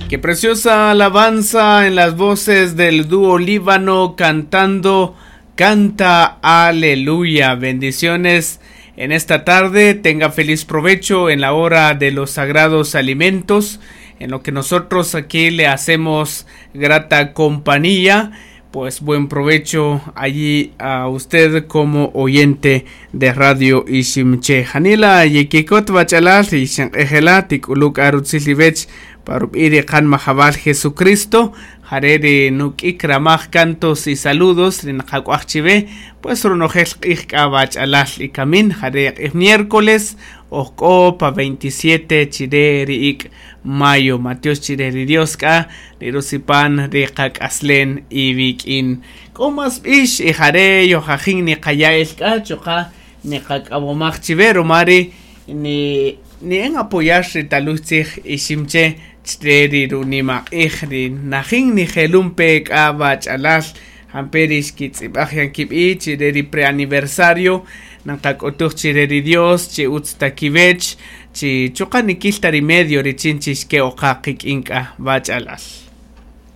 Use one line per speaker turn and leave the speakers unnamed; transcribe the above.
Qué preciosa alabanza en las voces del dúo Líbano cantando Canta Aleluya. Bendiciones en esta tarde. Tenga feliz provecho en la hora de los sagrados alimentos, en lo que nosotros aquí le hacemos grata compañía. Pues buen provecho allí a usted como oyente de Radio Iximche. Janila yekikot bachalal y shanqejela tikuluk arutzilibech parubiri kan majabal Jesucristo. Jarere nuk'ik ramaj cantos y saludos rinaqak'uajchive pues ronojel q'ij k'a bachalal y kamin jare q'ij miércoles ojk'o pa 27 chire ri'ik mayo Mateos chire ri Dios k'a rirusipan ri qak'aslen iwik'in k'o mas b'ix y jare yojajin niqaya'el k'a chuqa' niqak'awomaj chive romari ni ni en apoyar ri taluj tzij iximche chre ri runimaq'ij ri najin nijelun pe k'a bachalal jampe ri xkitz'ib'aj yan kib'i chire ri preaniversario nanqak'utuj chire ri Dios chi utz ta kiwech chi chuqa' nikil ta ri medio richin chi xke'oqa qik'in k'a bachalal.